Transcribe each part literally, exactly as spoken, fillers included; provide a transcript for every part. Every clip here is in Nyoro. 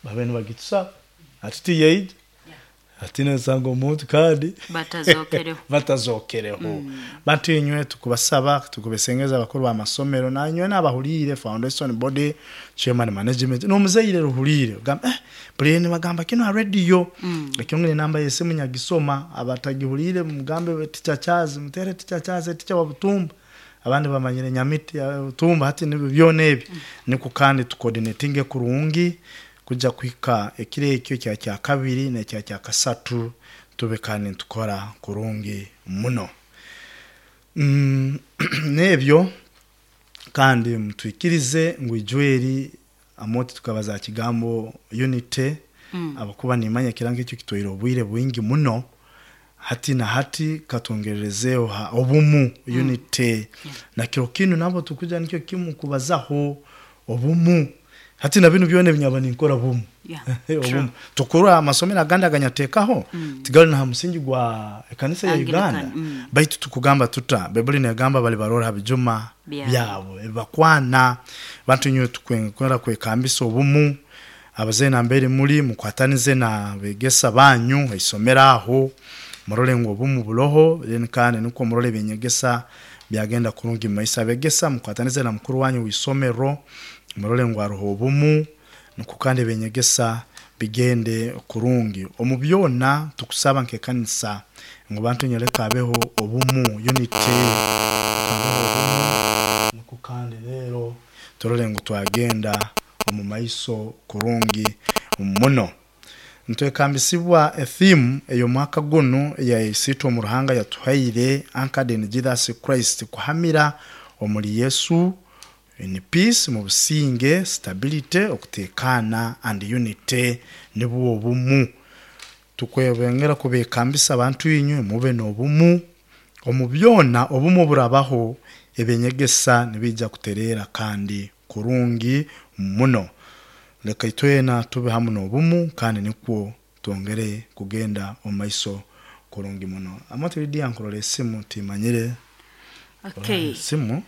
Babe nibagitusaba ati tiyaija ati nosanga omuntu kandi Batazokereho. Batazokereho. Bantu inywe, tukubasaba, tukubesengeza abakuru b'amasomero, nanywe n'abahuriire foundation body chairman, management, n'omuzaire ruhuriire, ogamba, eh buli nibagamba kino ha radio. Ekyongere namba y'esimu nyagisoma, abatagihuriire mugambe Teacher Charles, mutere Teacher Charles, teacher wa Butumba, abandi bamanyire Nyamiti, eh, Butumba. Hati nibyo byona ebi niko kandi tucoordinatinge kurungi kujja kuhika ekiro ekyo kya kya kabiri nekya kya kasatu, tube kandi nitukora kurungi muno. Mm, n'ebyo kandi mutwikirize ngu ijweri amoti tukabaza kigambo unity mm. Abakuba nimanya kirango ekyo kitwaire obwire bwingi muno. Hati na hati katongererezeho ha obumu, unity mm. Na kiro kinu nabo tukuja nikyo kimu kubazaho obumu. Hati na binu byona ebinyaba ninkora bumu. Yeah, obumu tukura amasomero agandi aganyateekaho tigali na musingi gwa ekanisa ya Anglican, Uganda mm. baitu tukugamba tuta Baibuli negamba bali barora ha bijuma Byabo. Byabo ebakwana. Bantu inywe, tukwera kwekambisa obumu. Abazeyi nambere muri, mukwatanize na begesa banyu isomero aho, murole ngu obumu buroho. Then kandi nuko murole ebinyegesa byagenda kurungi mumaisho. Abegesa, mukwatanize na mukuru wanyu w'isomero, murole ngu haroho obumu, nuko kandi ebinyegesa bigende kurungi. Omu byona tukusaba nk'ekanisa ngu bantu nyoleka abeho obumu, unity, kabeho obumu, nuko kandi rero turole ngu twagenda omu maiso kurungi muno. Ntwekambisibwa etheme ey'omwaka gunu eya isiitwe omu Ruhanga yatuhaire, "Anchored in Jesus Christ", kuhamira omuri Yesu, in peace, mu businge, stability, okutekana, and unity, nibwo obumu. Tukwebengera kubekambisa abantu inywe mube n'obumu omu byona. Obumu burabaho, ebinyegesa nibijja kuterera kandi kurungi muno. Leka itwena tube hamu n'obumu kandi nikwo twongere kugenda omu maiso kurungi muno. Amote Lidia, nkurora esimu timanyire. Okay. Esimu.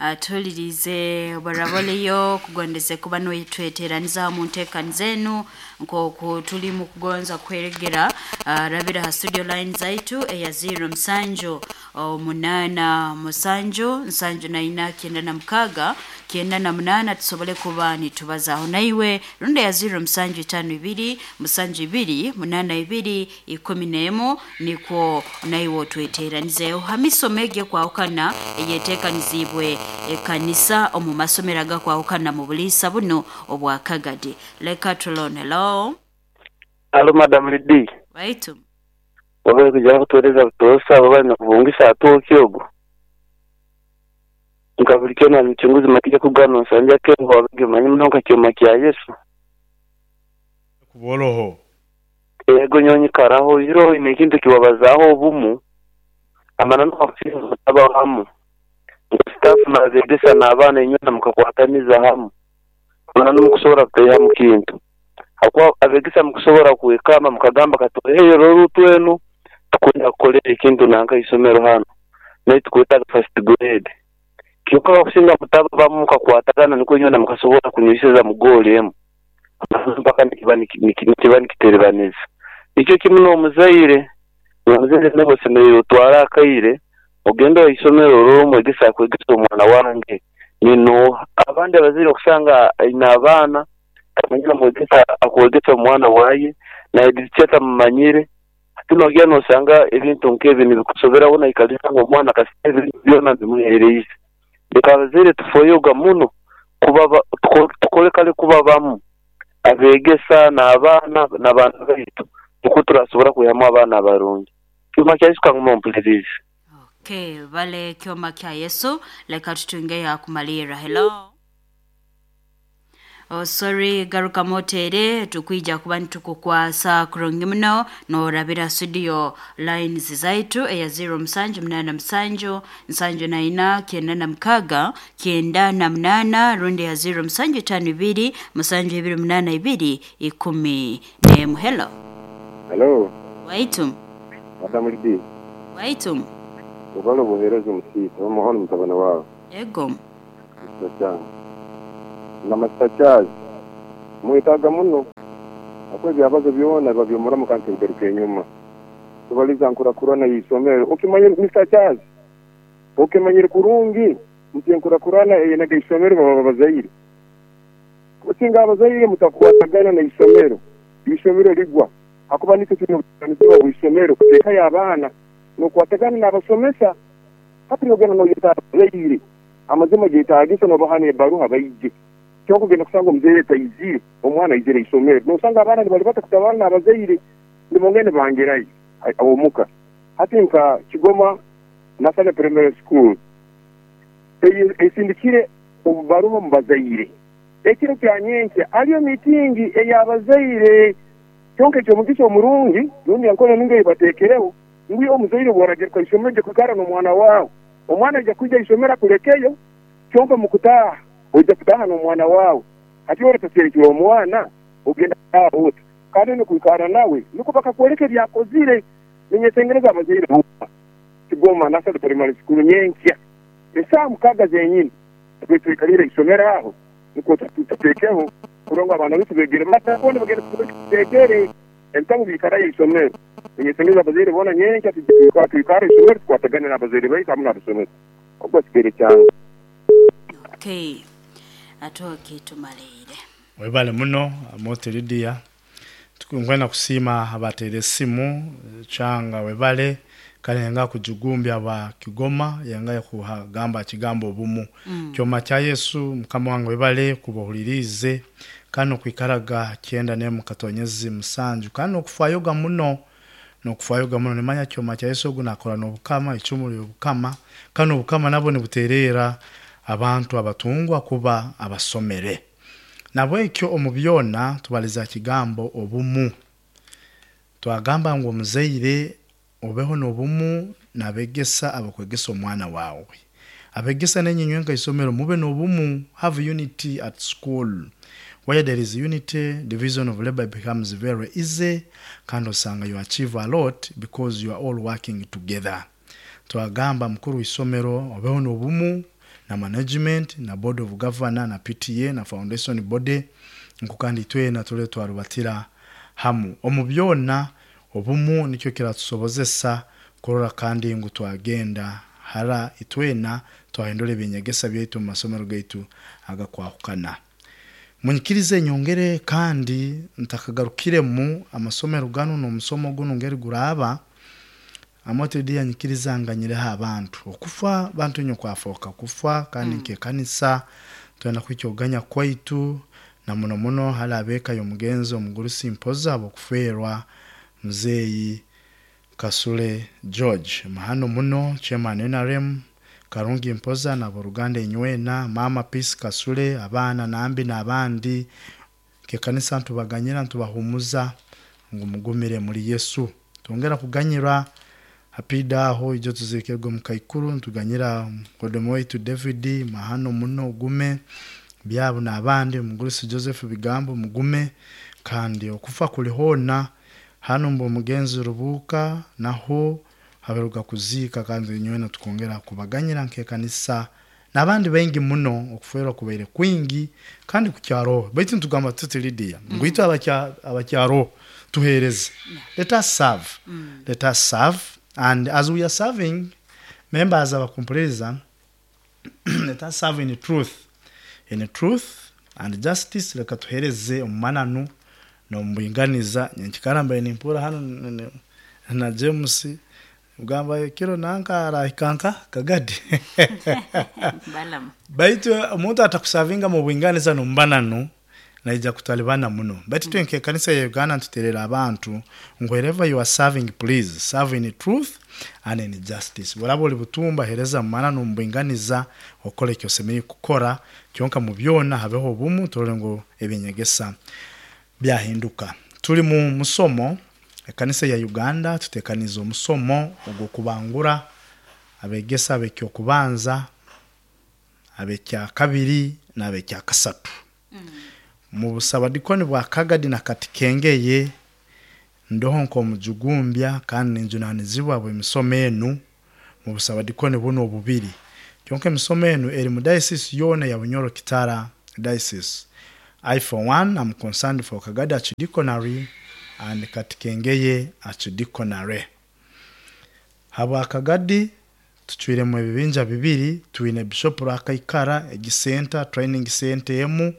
Uh, tuhulirize baraboleyo kugondeze kuba nitweteraniza mu nteekani zenu nk'oku tuli mu kugonza kweregera. uh, rabira ha studio line zaitu eya zero musanju omunana musanju nsanju na ina kyenda na mukaga kyenda na munana, tusobole kuba nitubazaho naiwe, rundi ya zero musanju itano ibiri musanju ibiri munana ibiri ikumi n'emu, nikwo naiwe otweteranizeho ha misomo egyo ekwahukana eyeteekanizibwe ekanisa omu masomero agakwahukana mu buliisa buno obwa Kagadi. Leka tulone. Hello. Alo, Madam Lidi. Waitu. Wabere kuja kutueleza butosa baba nakubungisa atoki ogo nkabulikyo na mchunguzi makija kugano nsanja kengo wabege manyi muno nkakyoma kya Yesu. Kuboroho. Ego, nyonyi karaho iro ine kintu kiwabazaho obumu amana no hamu staff nabegesa n'abaana inywe mukakwataniza hamu, amana nomukusobora kuteha mu kintu hakuba abegesa mukusobora kwekama mukagamba katuheyo rorutu enu tukwenda kukolera ekintu nanka isomero hano naye tukwetaga first grade. Kyokka bakusinga mutaba bamu mukakwatagana nikwo inywe mukasobora kunyweseza mu goali emu mpaka nikiba nikiba nikiterebaniza. Nikyo kimu n'omuzaire, omuzaire nawe osemerere otware akaire ogende oisomero orore omwegesa akwegesa omwana wange ninoha. Abandi abazaire okusanga aine abaana tamanyire omwegesa akwegesa omwana waye naye teacher tamumanyire. Hati nogira nosanga ebintu nk'ebi nibikusoberaho naikalisa ngu omwana kasita ebintu byona bimuhereize. Leka abazaire tufoyoga muno kuba tukole kale kuba bamu abegesa n'abaana n'abaana baitu nikwo turasobora kwihamu abaana abarungi. Kyoma kya Yesu, kanguma mpulirize. Okay, vale kyoma kya Yesu. Leka tutunge ya kumalira. Hello. Oh, sorry, garuka motere, tukwija kuba nitukukwasa kurungi muno norabira studio lines zaitu eya zero musanju munana musanju nsanju na ina kyenda na mukaga kyenda na munana, rundi ya zero musanju itano ibiri musanju ibiri munana ibiri ikumi n'emu. Hello. Hello. Waitu. Madam Lidi. Waitu. Ubalo buhereza omusita omuhono mutabani wawe. Ego. Mr. Chang. Na Master Charles. Mwitaga muno. Akuba ebyabazo byona biba byomuramu kandi tebigaruka enyuma. Tubaliza nkurakurana y'isomero. Okimanyire Mister Charles, okimanyire kurungi nti enkurakurana eyenaga isomero baba bazaire. Kusinga abazaire mutakwatagana na isomero, isomero ligwa. Akuba nitwe tulina obujunaanizibwa bw'isomero kuteekayo abaana n'okwatagana n'abasomesa. Hati nogenda noyeta abazaire, amazima geetaagisa nobaha n'ebaruha baije. Kyonka ogenda kusanga omuzaire taizire, omwana aizire isomero. Nosanga abaana nibali bata kutabana n'abazaire, nibongera nibangerayo omuka. Hati nka Kigoma National Primary School esindikire obubaruha omu bazaire. Ekiro kya nyenkya hariyo miitingi ey'abazaire. Kyonka eky'omugisha omurungi rundi enkora nungi ei bateekereho ngu omuzaire bw'oragaruka isomero ojja kwikara n'omwana waawe. Omwana aija kwija isomero akulekeyo, kyonka mu kutaaha ojja kutaaha n'omwana waawe. Hati orataserekera omwana ogenda kutaaha ota? Kandi n'okwikara nawe nukwo bakakwoleka ebyakozire. Ninyesengereza abazaire boona Kigoma National Primary School nyenkya esaaha mukaaga zenyini tube twikalire isomero aho nukwo tuteekeho kurora ngu abaana baitu beegere bata boona bagenda tuteekere ebitabu biikarayo isomero. Ninyesengereza abazaire boona nyenkya twikare isomero tukwatagane n'abazaire baitu hamu n'abasomesa. Ogwo kigere kyange. Okay, atoke tumaleire. Webale muno Amote Lydia. Tukwenda kusiima abateere esimu kyanga webale kale yenga kujugumbya ba Kigoma yenga kuhagamba kigambo obumu. Mm. Kyoma kya Yesu mukama wange webale kubuhulirize kano kwikaraga kyenda ne mukatonyezi musanju kano okufayoga muno nokufayoga muno nimanya kyoma kya Yesu ogunakora n'obukama icumu ly'obukama kano obukama nabo nibuterera abantu abatungwa kuba abasomere. Nabwekyo omu byona tubaliza kigambo obumu. Twagamba ngu omuzaire obeho n'obumu nabegesa abakwegesa omwana wawe. Abegesa n'enyinywe nka isomero mube n'obumu, have unity at school. Where there is unity, division of labor becomes very easy kandi osanga you achieve a lot because you are all working together. Twagamba mukuru w'isomero obeho n'obumu na management na board of governor na P T A na foundation body nko kandi twena tule twarubatira hamu. Omu byona obumu nikyo kiratusobozesa kurora kandi ngu twagenda hara itwena twahindura ebinyegesa byaitu mu masomero gaitu agakwahukana. Munyikirize nyongere kandi ntakagarukiremu amasomero gano n'omusomo guno ngeri guraba Amote Lydia nyikiriza nganyireho abantu okufa bantu nyo kwafoka kufa kandi mm. Nkekanisa twenda kwikyoganya kwaitu na muno muno hali abeka y'omugenzi omugurusi mpoza abokufeerwa muzeeyi Kasule George mahano muno chairman N R M Karungi Mpoza na boruganda enywena mama Peace Kasule abaana nambi n'abandi kekanisa ntubaganyira ntubahumuza ngu mugumire muri Yesu. Twongera kuganyira hapida aho ijo tuzikirwe mu kaikuru ntuganyira kodomo waitu David mahano muno gume byabo n'abandi omugurusi Joseph Bigambo mugume kandi okufa kuli hona hano mbo mugenzi Rubuka naho haberuka kuzika kandi nywena tukongera kubaganyira nkekanisa n'abandi bengi muno okuferwa kubaire kwingi kandi kukyaro baitu ntugamba tuti Lydia mm. Ngwitu abakya abakyaro tuhereze. Yeah. Let us serve. Mm. Let us serve, and as we are serving members abakumpuliriza let us serve in truth, in truth and justice. Leka tuhereze omumananu n'omubuinganiza. Nyenkikaramba nimpura hano na James mugamba kiro nanka arahikanka kagadi Balam. Baitu omuntu atakusavinga mu buinganiza n'omubananu naija kutalibana muno. Baitu mm. Twenke kanisa ya Uganda ntuterera abantu wherever you are serving, please serve in truth and in justice. Burabo oli butumba hereza mu mbuinganiza okole kyosemeye kukora kyonka mu byona habeho obumu turole ngo ebinyegesa byahinduka. Tuli mu musomo ekanisa ya Uganda tutekaniza omusomo ogwo kubangura abegesa abekyo kubanza abekya kabiri n'abekya kasatu. Mm. Mu busabadikoni bwa Kagadi na Katikengeye ndoho nkomujugumbya kandi ninjunanizibwa bwe misomo enu mu busabadikoni buno obubiri. Kyonka emisomo enu eri mu diocese yona ya Bunyoro Kitara diocese. I for one am concerned for Kagadi Archdeaconry and Katikengeye Archdeaconry. Habwa Kagadi tucwiremu ebibinja bibiri, twine Bishop Rwakaikara egisenta training center emu,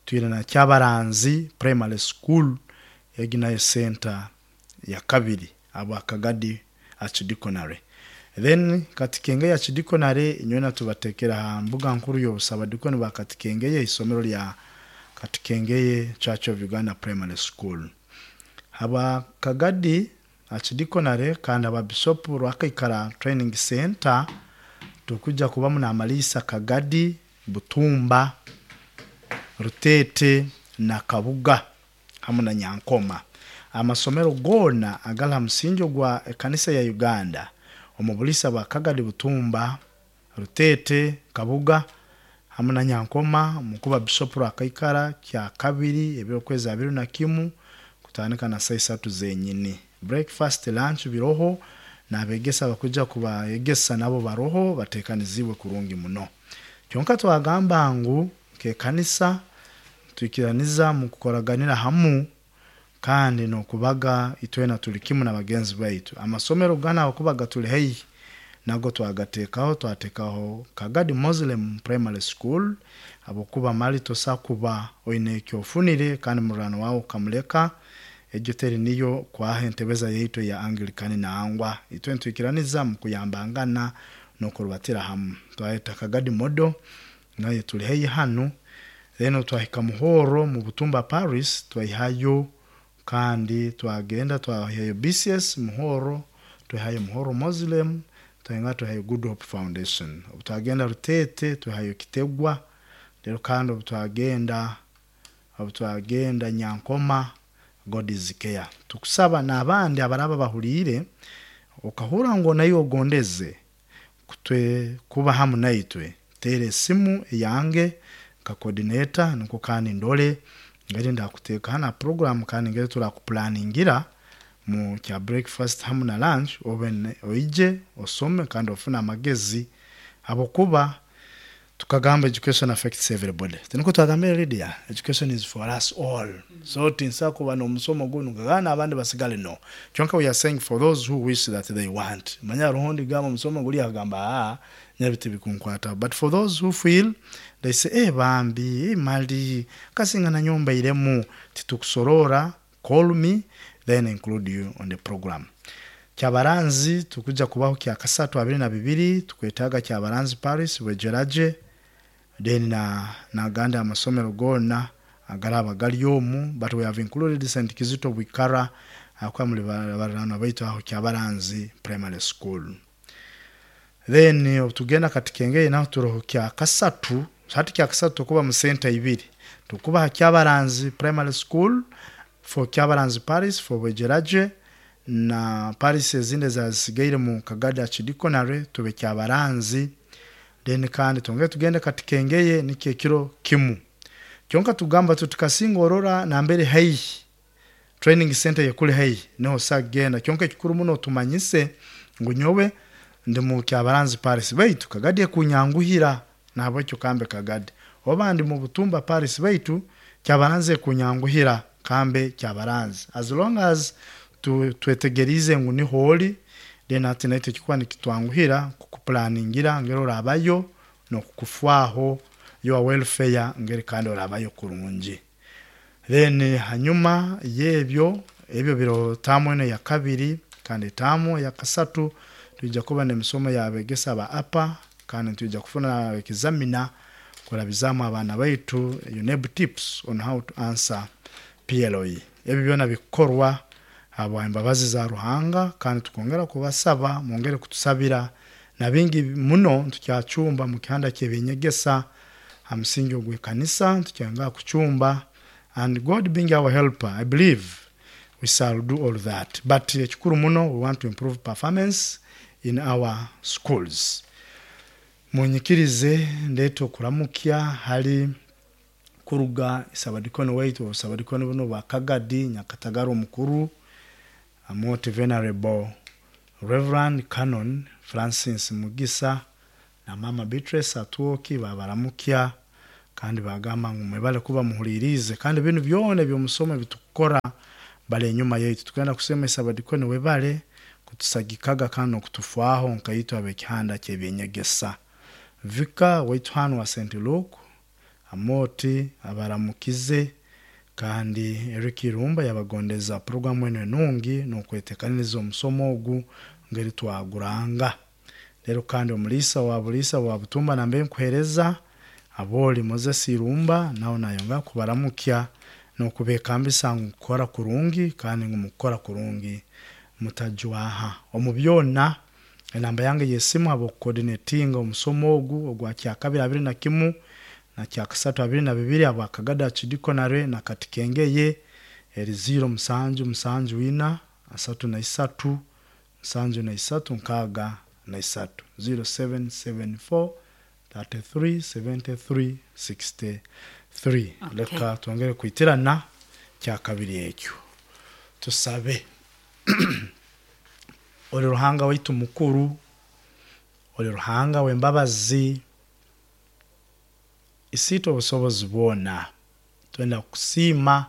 twine na Kyabaranzi Primary School egi nayo center ya kabiri habwa Kagadi Archdeaconry. Then Katikengeye Archdeaconry inywena tubatekera ha mbuga nkuru y'obusabadikoni bwa Katikengeye, isomero lya Katikengeye Church of Uganda Primary School. Haba Kagadi Archdeaconry kandi aba Bishop Rwakaikara Training Center tukuja kubamu na Malisa Kagadi, Butumba, Rutete na Kabuga hamwe na Nyankoma. Amasomero gona agala musingi gwa ekanisa ya Uganda omu bulisa bwa Kagadi, Butumba, Rutete, Kabuga hamwe na Nyankoma, mukuba Bishop Rwakaikara kya kabiri ebyokwezi abiri na kimu kutandika na saa isatu zenyini. Breakfast, lunch biroho n'abegesa bakuja kubayegesa nabo baroho batekanizibwe kurungi muno. Kyonka twagamba ngu kekanisa twikiraniza mu kukoraganira hamu kandi nokubaga itwena tuli kimu na bagenzi baitu. Amasomero gana okubaga tuli haihi nago twagatekaho, twatekaho Kagadi Muslim Primary School abokuba mali tosa kuba oine ekyofunire kandi murano wawe ukamuleka egyo teri niyo kwaha entebeza yaitu ya Anglican na angwa itwe ntwikiraniza mu kuyambangana nokurubatira hamu. Twaheta Kagadi Modo naye tuli haihi hanu, then twahika Muhoro mu Butumba Paris twayihayo kandi twagenda twahayo B C S Muhoro, twahayo Muhoro Muslim, twahenga twahayo Good Hope Foundation. Obu twagenda Rutete twahayo Kitegwa, rero kandi obu twagenda obu twagenda Nyankoma God is care. Tukusaba n'abandi abaraba bahuriire okahura ngo nayo ogondeze kutwe kuba hamu naitwe, tere esimu yange nka coordinator niko kandi ndole ngeri ndakuteka hana program kandi ngeri turakuplaningira mu kya breakfast hamu na lunch obe oije osome kandi ofuna amagezi abokuba tukagamba education affects everybody. Tiniko twagambira Lydia, education is for us all. Mm -hmm. So tinsa kuba no musomo gunu gana abandi basigale no. Kyonka we are saying for those who wish that they want. Manya ruhondi gamba musomo guli agamba ah nyabiti bikunkwata. But for those who feel they say eh bambi eh, mali kasinga na nyumba iremu titukusorora, call me then include you on the program. Kyabaranzi tukuja kubaho kya kasatu abiri na bibiri tukwetaga Kyabaranzi Paris wejeraje then na na ganda amasomero gona agaraba galyomu, but we have included Saint Kizito Bwikara akwa muri barano baitu aho Kyabaranzi Primary School. Then tugenda Katikengeye naho turoho kya kasatu hati kya kasatu kuba mu center ibiri tukuba Kyabaranzi Primary School for Kyabaranzi Paris for wejeraje na Paris ezinde zasigaire mu Kagadi Archdeaconry tube Kyabaranzi. Then kandi tongere tugende Katikengeye nikyo kiro kimu kyonka tugamba tutukasinga orora na mbere haihi training center yekuli haihi niho sagenda kyonka ekikuru muno tumanyise ngu nyowe ndi mu Kyabaranzi Paris baitu Kagadi kunyanguhira nabwekyo kambe Kagadi oba ndi mu Butumba Paris baitu Kyabaranzi kunyanguhira kambe Kyabaranzi as long as tu twetegerize ngu ni holi then ati naite kikuwa nikitwanguhira kukuplaningira ngero orabayo no kukufwaho your welfare ngeri kandi orabayo kurungi. Then hanyuma yebyo ebyo biro tamu eno ya kabiri kandi tamu ya kasatu tuija kuba n'emisomo yabegesa ba apa kandi tuija kufuna examina kurabizamu abana baitu UNEB tips on how to answer P L O E. Ebyo byona bikorwa abo embabazi za Ruhanga kandi tukongera kubasaba mwongere kutusabira na bingi muno tukyachumba mu kihanda kyebinyegesa hamsingi ogwe kanisa tukyanga kuchumba, and God being our helper I believe we shall do all that, but ekikuru muno we want to improve performance in our schools. Munyikirize ndeto kuramukya hali kuruga isabadikoni waitu obusabadikoni buno bwa Kagadi Nyakatagara omukuru Most Venerable Reverend Canon Francis Mugisa na Mama Beatrice Atuoki babaramukya Kandi bagamba ngu mwebale kuba muhulirize, kandi binu byona ebyomusomo bitukukora bali enyuma yaitu. Tugenda kusemesa abadikoni webale kutusagikaga kandi n'okutufaaho nkaitwe ab'ekihanda ky'ebyenyegesa. Vika waitu hanu wa Saint Luke Amoti abaramukize, kandi Eric Irumba yabagondeza programu eno enungi n'okwetekaniriza omusomo ogu ngeri twaguranga. Rero kandi omulisa wa bulisa wa Butumba nambe nkuhereza aboli Moses Irumba nawe nayonga kubaramukya n'okubekambisa ngu kukora kurungi, kandi ngu mukukora kurungi mutajwaha omu byona. Enamba yange y'esimu habw'okucoordinatinga omusomo ogu ogwa kyakabiri abiri na kimu na kyakasatu abiri na bibiri habwa Kagada Archidiaconate na Katikengeye eri ziro musanju musanju ina asatu na isatu musanju na isatu nkaaga na isatu zero seven seven four thirty three seventy three sixty three. Okay. Leka twongere kwitirana kyakabiri ekyo tusabe. Oli Ruhanga waitu mukuru, oli Ruhanga w'embabazi, isiitwe obusobozi bwona. Twenda kusiima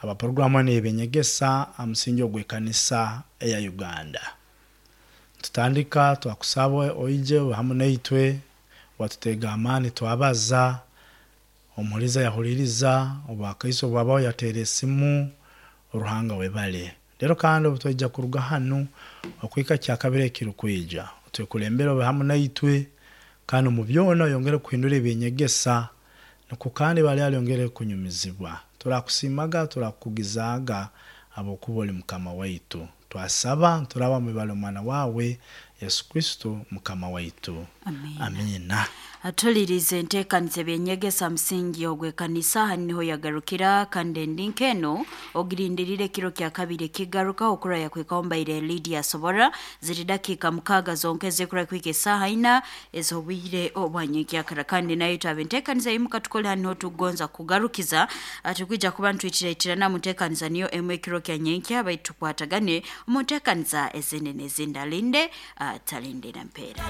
abaproguramu enu ey'ebyenyegesa aha musingi ogw'ekanisa eya Uganda. Tutandika twakusaba oije hamu naitwe, watutega amaani twabaza, omuhuliza yahuliriza, obwakaiso bwabaho yateera esimu, Ruhanga webale. Rero kandi obu twaija kuruga hanu okuhika kyakabiri ekirukwija, otwekulembere obe hamu naitwe, kandi omu byona oyongere kuhindura ebyenyegesa, nukwo kandi bali alyongere kunyumizibwa. Turakusiimaga, turakukugizaaga habwokuba oli Mukama waitu. Twasaba turaba mwibale omwana wawe Yesu Kristo Mukama waitu. Amina. Amina. Atulirize enteekaniza ebyenyegesa musingi ogw'ekanisa hanu niho yagarukira, kandi endinka eno ogirindirire ekiro kya kabiri ekigaruka okura yakwikaho mbaire Lydia Sobora ziri dakiika mukaaga zonka ezikura kwika esaaha ina ez'obwire obwanyenkyakara. Kandi nayo twaba enteekaniza yimuka tukole hanu niho tukugonza kugarukiza, tukwija kuba ntwitiraitirana mu nteekaniza niyo emu ekiro kya nyenkya, baitu tukwatagane omu nteekaniza ezindi n'ezindi. Alinde atalindira mpeera.